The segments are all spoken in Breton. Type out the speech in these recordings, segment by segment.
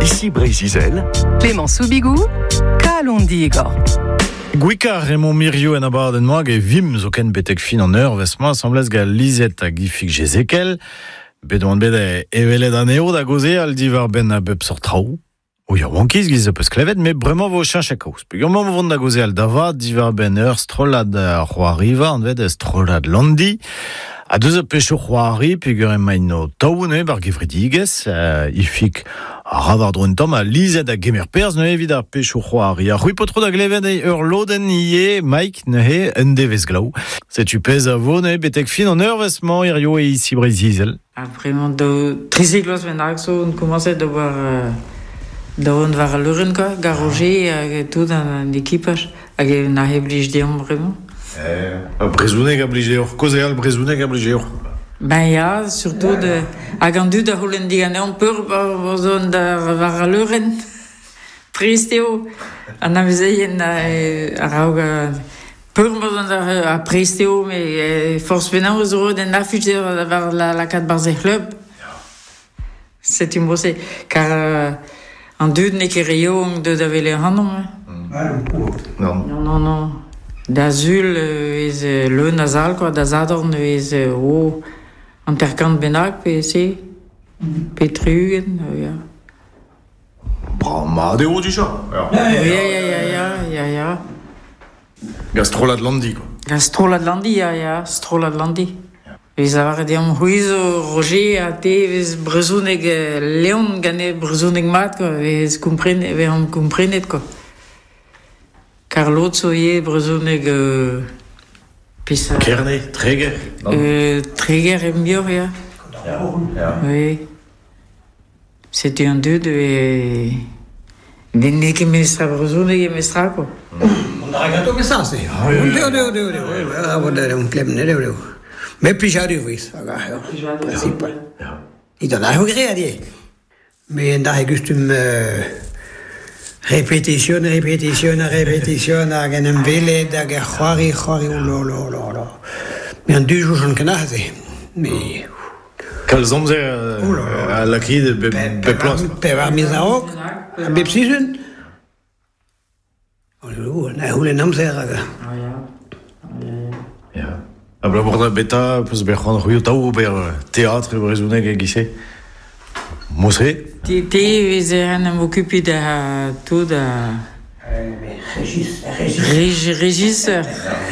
Ici Breizh-Izel. Clément Soubigou, Kalon Digor. Gwikar emañ Mirio en abadenn-mañ hag e vimp zoken betek fin an eurvezh-mañ asambles gant Lisette hag Ifig Jezekel. Bet oan bet evelet anezho da gaozeal diwar-benn a bep seurt traoù. O yaouankiz giz peus klevet, met bremañ vo cheñchet kaoz. Peogwir emañ vont da gaozeal da vat diwar-benn ur strollad c'hoariva anvet strollad Landi. Ha deus ar pechoù c'hoari peogwir emaint o taou neuze war gevredigezh, Ifig a ra war-dro un tamm ha Lizet a gemer perzh neuze evit ar pechoù c'hoari. Ha c'hwi paotr da glevet ur lodenn ivez, Mike, neuze un devezh glav. Setu pezh a vo neuze betek fin an eurvezh-mañ hirio e Ici Breizh-Izel. Ha bremañ daou 13 vloaz bennak zo on komañset d'ober da vont war al leurenn kwa, gant Roger hag tout an ekipaj hag na blij deomp bremañ. Ar brezhoneg a blij deoc'h, kaozeal brezhoneg a blij deoc'h. Ben ya, surtout hag an dud a c'houlenn diganeomp peur zo da war al leurenn. Trist eo an amezeien a-raok peur ha prest eo, met forzh penaos zo roet un afich war lakaat barzh e c'hlub. Setu mod-se, kar an dud n'eo ket re yaouank deuet da welet ac'hanomp. Non. Non, non, non. Da sul e vez leun a sal, quoi. Da sadorn e vez oh, 50 bennak pe se, pe 60, ya. Brav mat eo dija. Ya, ya, ya, ya, ya, ya. Gant strollad Landi, quoi. Gant strollad Landi, ya, ya, strollad Landi. Vez lavaret deomp c'hwi zo Roger ha te vez brezhoneg Leon gane brezhoneg mat, quoi. Vez kompren, vezomp komprenet, quoi. Kar lod zo ivez brezhoneg peseurt... Kerne, Treger? Treger e muioc'h, ya. Ya. Oui. Setu an dud e... N'eo ket mestra brezhoneg eo mestra, quoi. On a ganto ket ça, se. Deo, deo, deo, deo. On klemm, deo, deo. Mais plijadur vez, hag ar principal. It an arc'ho graet ivez. Me en da gustum répétition, répétition, répétition, hag en em welet, hag ar c'hoari, c'hoari, oh là là là là. Me an du jour ken se. Mais... Kalz amzer a lakit bep bloaz. Pevar miz a-raok, a bep sizhun. Oh, na c'houlenn amzer hag... Ya. Abalamour da beta peus bet c'hoant c'hwi taou ober teatr e brezhoneg e-giz-se? Mod-se? Te, te vez en em okupiñ da tout da... Régis, Régis. Régisseur.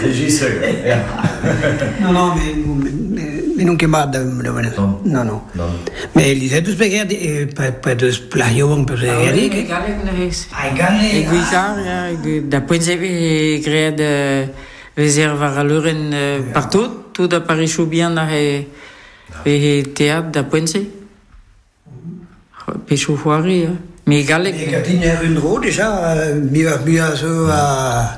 Régisseur, ya. Non, non, mais n'on ket mat da Non, non. Non. Mais Lisette deus bet pa deus plac'h yaouank peus bet E galleg neuze. Ah, e galleg. E Gwikar, ya. Da poent-se vez graet vezer war al leurenn partout, tout a parisoù bihan ar e teatr da poent-se. Pechoù c'hoari, ya. Mais galleg... E gatin er un dro, déjà, muioc'h muiañ zo a...